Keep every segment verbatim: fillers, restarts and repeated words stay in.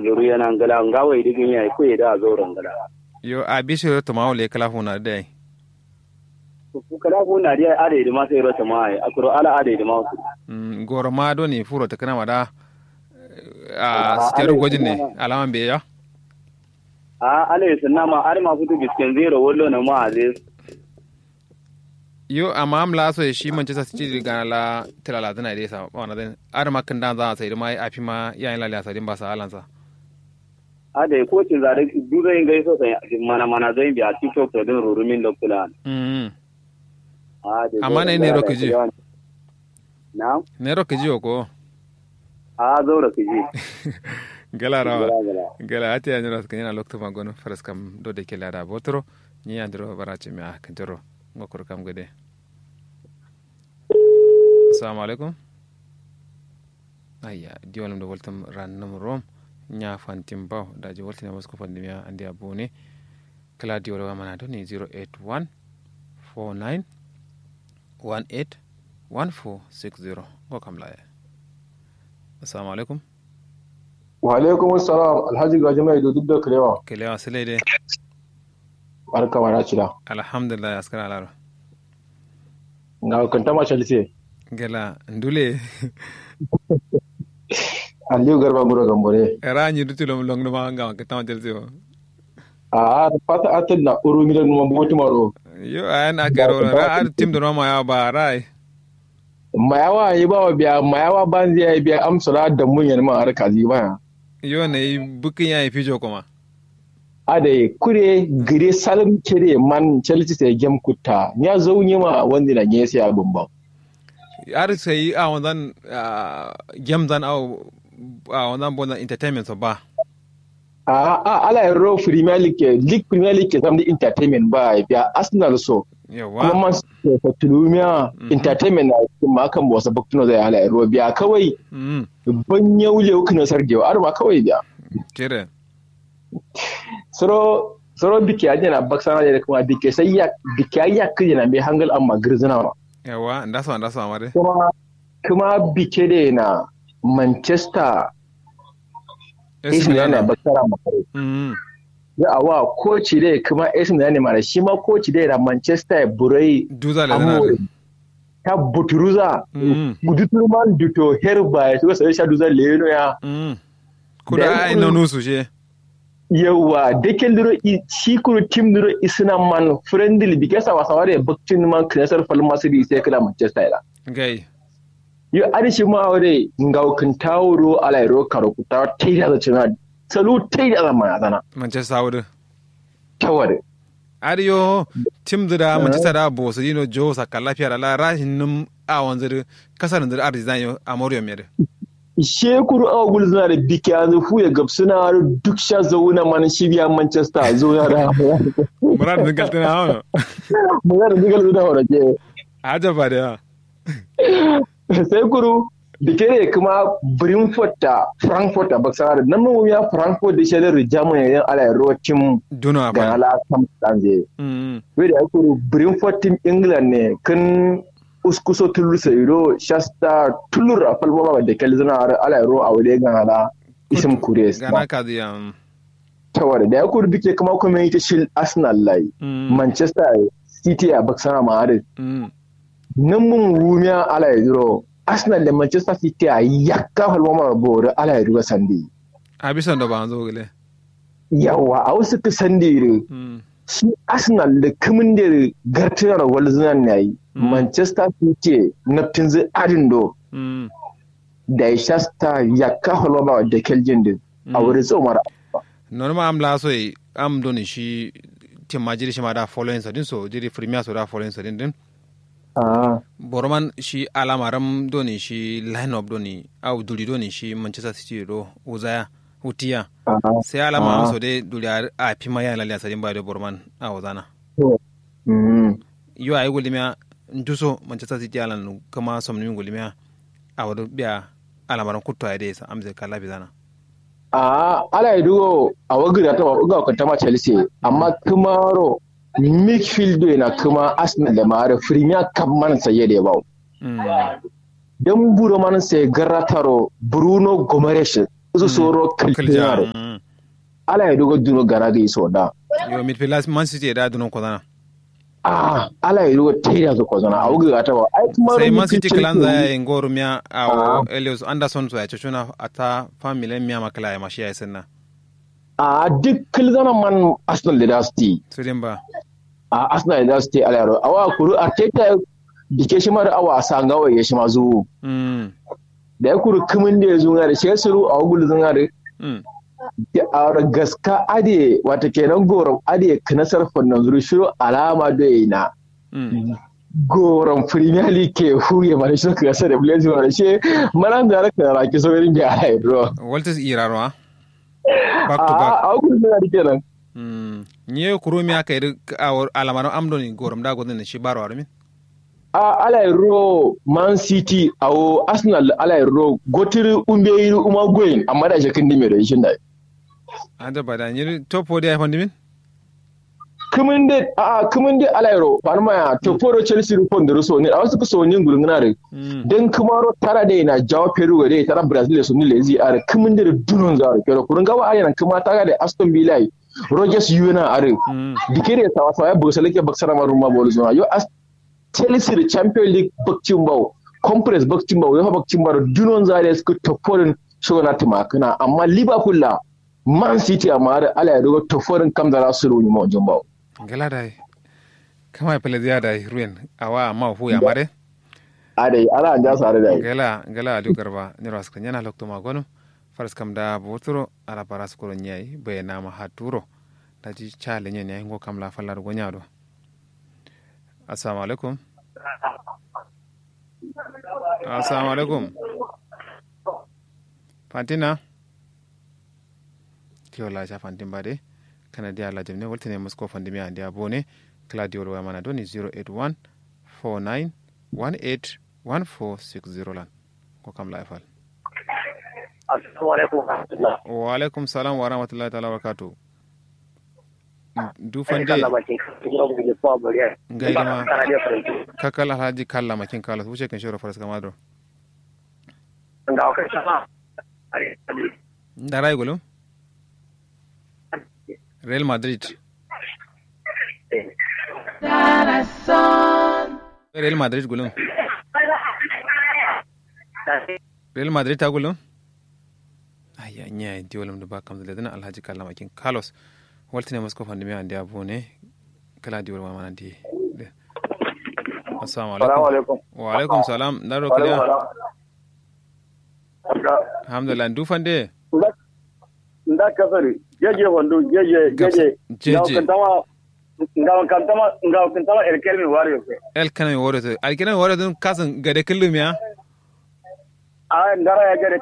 Luru yana ngla ngawo idi gimi ai kuye da zauro ngla. Yo a bishi ro tuma wule kala funa dai. Kala funa dai ade idi ma sai ro tuma ai akuro ala ade idi ma wasu. Mm, goro ma doni furo ta kana ma da. A sitero gojin ne alama be ya. A ala yi sunna ma ade ma futu bisken zero wallo na ma aziz. Yo amma am la so shi Manchester City gana la tilala tana dai sa wana dai. Ade ma kan dan za sai ma afi ma yayin la la sa din ba sa alansa. Ade ko cin zare duzai ngai so sai mana mana zai biya tiktok to din rurumin lokula. Mm. Amma ne ne rokaji. Na ne rokaji ko. A zo rokaji. Gala rawa. Gala ati ya nyiro kan yana lokto magono faras kam do de kela da botro. Ni andro barace mi a kan jiro. Ngokur kam gade. Assalamu alaikum. Ayya diwanum da waltum rannum rom. Nya fantim baw daji waltum ya musko fandim ya andi abune. Kala diwal wa mana doni zero eight one four nine one eight one four six zero. Ngo kam laye. Assalamu alaikum. Wa alaikum assalam alhaji gaji mai do duk da kalewa kalewa sile de. Barka mana cida. Alhamdulillah askar alaro. Nga kanta ma chalse. Gela ndule. Aliyu garba nguro gambore. Era nyi duti lom long numa nga kanta ma chalse. A fata atal na uru mi da numa botu maro. Yo ayan akero ra ar tim do ma ya ba rai. Mayawa yi ba biya mayawa banzi ya biya amsala da mun yan ma har kazi ba. Yo ne bukin ya fijo kuma. Adai kure gire salum kere man chalci sai gem kutta nya zau nyima wandi na nye sai abun ba. Ar sai a wanzan gem zan a wanzan bonzan entertainment so ba. A a ala ro premier league league premier league ke samdi entertainment ba biya arsenal so. Yawa kuma man so tulumia entertainment na kuma kan bosa baktuno zai ala ro biya kawai. Ban yau lewu kina sargewa ar ma kawai biya. Kere. Soro soro bike aje na baksana de kuma bike sai ya bike ai ya kije na be hangal amma girzina ma. Yawa ndasa ndasa ma de. Kuma kuma bike de na manchester. Esin na baksana ma kare. Ya awa koci de kuma esin na ne mara shi ma koci de na manchester burai duza le zana. Ta buturuza duturman duto her ba ya shiga sai sha duza leno ya. Kuda ai na nusu she. Yauwa dakel duro shi kuru tim duro isina man friendly bike sawa sawa da bakcin man kinasar falma su di sai kala manchester ila. Gai. Yo adi shi ma wade ngau kintawo do ala iro karo kuta tai da cina. Salu tai da ma zana manchester wade. Tawade. Adi yo tim zida manchester da bo su dino jo saka lafiya da la rashin num a wanzu kasar zida adi zan yo a moriyo mere. Shekuru awa gulzuna da biki yanzu fuye gabsuna har duk sha zauna mana shi biya manchester zauna da. Murar zingaltuna hano. Murar zingaltuna hano ke. Ajaba da yawa. Sai kuru bikere kuma brentford ta frankfurt ta baksana da nan mun ya frankfurt da shaidar germany yan ala ro tim duna ga ala sam tanze. Wai da kuru brentford tim england ne kan uskuso tullu sairo shasta tullur a falbaba da kalzina har ala ro a wade gan ala isim kures gana kaziya. Tawar da ya kuru duke kuma kuma yi ta shil arsenal lai manchester city a baksana ma harin. Nan mun wumiya ala ya duro arsenal da manchester city a yakka falbaba bori ala ya duro sandi. A bisan da ba an zo gile. Yawa a wasu ka sandi ri shi arsenal da kimin da gartina da walzinan na yi manchester city na finzi adin do. Da ya shasta yakka holoma da keljin din a wuri tsomar. Nonuma am la so am doni shi tim majiri shi ma da following sadin so jiri premier so da following sadin din. Boroman shi alamaram doni shi line up doni au duri doni shi manchester city do uzaya utiya. Sai alama so dai duri a fima ya laliya sadin ba do boroman a uzana. Yo ayi gullumiya nduso manchester city alan kuma somnumi gullumiya. Awo do biya alamaran kutto ayi dai sa amze kala bizana. Aa ala yi duwo awo gida ta uga kanta ma chelsea amma kuma ro midfield do ina kuma arsenal da ma ro premier cup man saye da bawo. Dan buro man sai garrataro bruno gomares. Usu soro kalkilzana do. Ala ye dogo duno gana gi so da. Yo midfield man city da duno kozana. Ah, ala ye dogo tera so kozana. Awu ga ta ba ai kuma sai man city kalan za ya yi ngoro miya a elios anderson so ya cucuna a ta family miya makala ya mashi ya yi sanna. A duk kilzana man arsenal da dasti. Su din ba. A arsenal da dasti ala yaro awa kuru arteta dike shi mara awa sanga wa ya shi ma zuwu. Da ya kuru kumin da ya zunga da shi ya suru a wugul zunga da. Da a wara gaska adiye wata kenan gorom adiye kanasar fannan zuru shiro alama da ya yi na gorom premier league ke huye mara shiro kasa da blaze mara shi. Mara da raka raki saurin da ya haidro. Walters irarwa. Back to back. A wugul zunga da kenan. Nye kuro mi aka yi duk alamaran amdoni gorom da gudun shi barwa rumin. A ala ro man city awo arsenal ala ro gotiri umbe yiri uma goyin amma da shekin dime da ishin da. Ada bada nyiri top four dai fandimin. Kuminde a kuminde ala ro panma ya top four chelsea ru pondoro so ni awo suka so ni ngulungna re. Den kumaro tara dai na jawo peru dai tara brazil so ni lezi are kuminde da dunon zaro kero kurun gawa are nan kuma tara da aston villa. Rogers yuna are. Dikere sawa sawa ya bugsa lake baksara maruma bolu zuma yo as chelsea da champion league bakcin bawo, conference bakcin bawo, yofa bakcin bawo dunon zare suka toporin shona tumakana amma liverpool la man city amma har ala ya dogo toporin kam zara su runi mo jumbawo. Gala dai. Kama ya pele ziya dai ruin awa amma fu ya mare. Adai ala an jasa dai. Gala gala aliu garba ni ras kan yana lokto ma gonu. Faras kam da boturo ala bara su kuro nyai bai nama haturo. Daji ca lenyen yayi ngo kam la fallar gonya do. Assalamu alaikum. Assalamu alaikum. Fantina. Kiyo la ca fantin ba de. Kana dia la jamne waltine musko fandimi andia bone. Kala diwol waya mana doni zero eight one four nine one eight one four six zero lan. Ko kam la ifal. Assalamu alaikum warahmatullah. Wa alaikum salam warahmatullahi ta'ala wabarakatuh. Du fande. Ngai dama. Kakal alhaji kalla makin kala wuce kan shiro faras kama do. Ndarai gulum. Real madrid. Real madrid gulum. Real madrid ta gulum. Ayya nya diwolum da ba kamzu ledina alhaji kalla makin carlos. Waltine musko fandimiya andiya bone. Kala diwolum mana di. Assalamu alaikum. Wa alaikum salam ndaro kiliya. Alhamdulillah ndu fande. Nda kasari jeje wando jeje jeje. Jeje. Ngawo kantama ngawo kantama ngawo kantama elkelmi wariyo. Elkelmi wariyo elkelmi wariyo kasan gade kullum ya. A ndara ya gade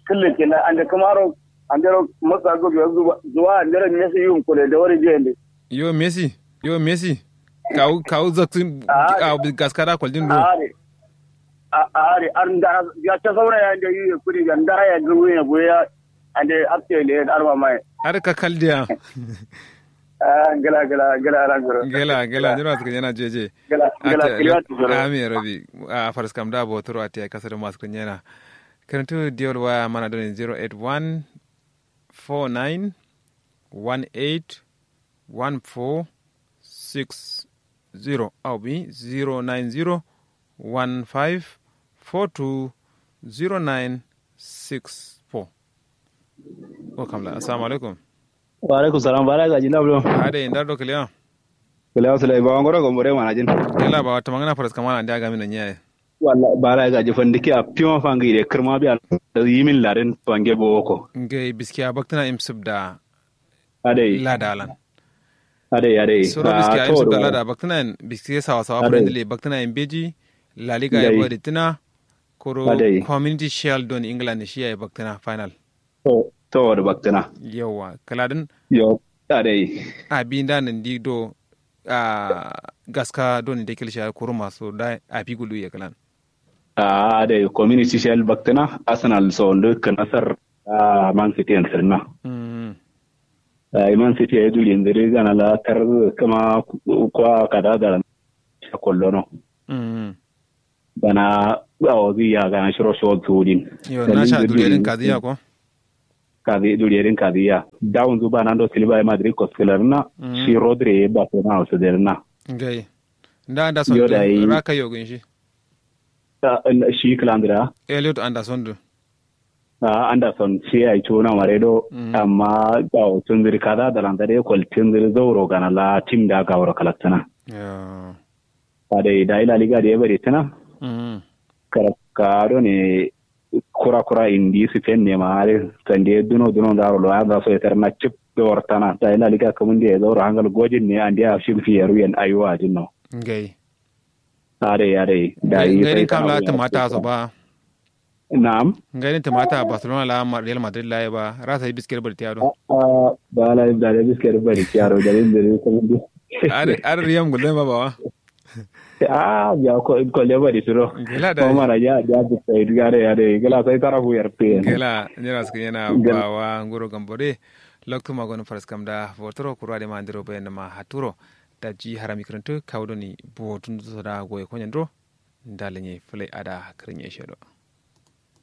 kullum kenan ande kamaro andero masa go biyo zuwa andero mesi yum kule da wari jende. Yo mesi yo mesi. Kawu kawu zaktin. A gaskara kwaldin do. Are. Are ar ndara ya ta saura ya nda yuye kudi ga ndara ya ga wuye buya. Ande afte le arma mai. Ar ka kaldiya. Ah ngala ngala ngala rangoro. Ngala ngala nyiro aska yana jeje. Ngala ngala kiliya tuzoro. Ami rabi. A faras kam da botoro ati ai kasar maska yana. Karantu diyol waya mana doni zero eight one four nine one eight one four six zero au bi zero nine zero one five four two zero nine six four. Ko kamla assalamu alaikum. Wa alaikum salam bara gaji na bro. Ade ndar do kliya. Kliya sulai ba ngoro go more mana jin. Kila ba wata mangana faras kamana nda ga min nyaye. Walla bara gaji fandiki a pion fangi de kirma bi al yimin larin fange boko. Ngai biskiya baktana im subda. Adai lada alan. Adai adai soro biski a yim subda lada baktina yin biski sawa sawa friendly baktina yin beji. Laliga ya bari tina koro community shield don england shi ya baktina final. To da baktina. Yawa kaladin. Yo adai. Abi nda nan di do a gaska don da kilsha koro maso da abi gulu ya kalan. A adai community shield baktina arsenal so ndo kanasar. A man city yan sirna. Iman city ya yi duri yanzu dai gana la tar kama kwa kada da sha kollono. Bana awo zai ya gana shiro shiro tudin. Yo na sha duri din kaziya ko. Kazi duriye din kazi ya dawun zu ba nan do siliba ya madrid koskilar na. Shi rodri ya ba sai na wasu da na. Ngai. Nda anda son du raka yogun shi. Shi kilandira eliot anda son du. A anda son shi ya yi cuna mare do. Amma ga tunziri kaza da landa da ya kwal tunziri zauro gana la tim da ga wuro kalaktana. Adai da ila liga da ya bari tana. Karabka do ne kura kura indi spain ne ma are sande duno duno ndaro lo anda so etar na chip do wartana da ila liga kamun da ya zauro hangal gojin ne ande a shim fi yaru yan ayuwa jinno. Ngai. Adai adai da yi ngai din kam la tumata so ba. Na'am. Ngai din tumata barcelona la real madrid la ba rasa biskir bari tiyado. Ba la da biskir bari tiyado da din da din kamun da. Ar riyam gulden ba bawa. A ya ko ko leba di turo. Gela da. Ko mara ya ya bi sai gare ya de gela sai tara fu yar pe. Gela ni ras ke yana bawa nguro gambore. Loktu magon faras kam da botoro kurwa de mandiro bayan ma haturo. Da ji harami kirintu kawdoni botun so da goye konyandro. Ndalanye fulai ada kirinye shedo.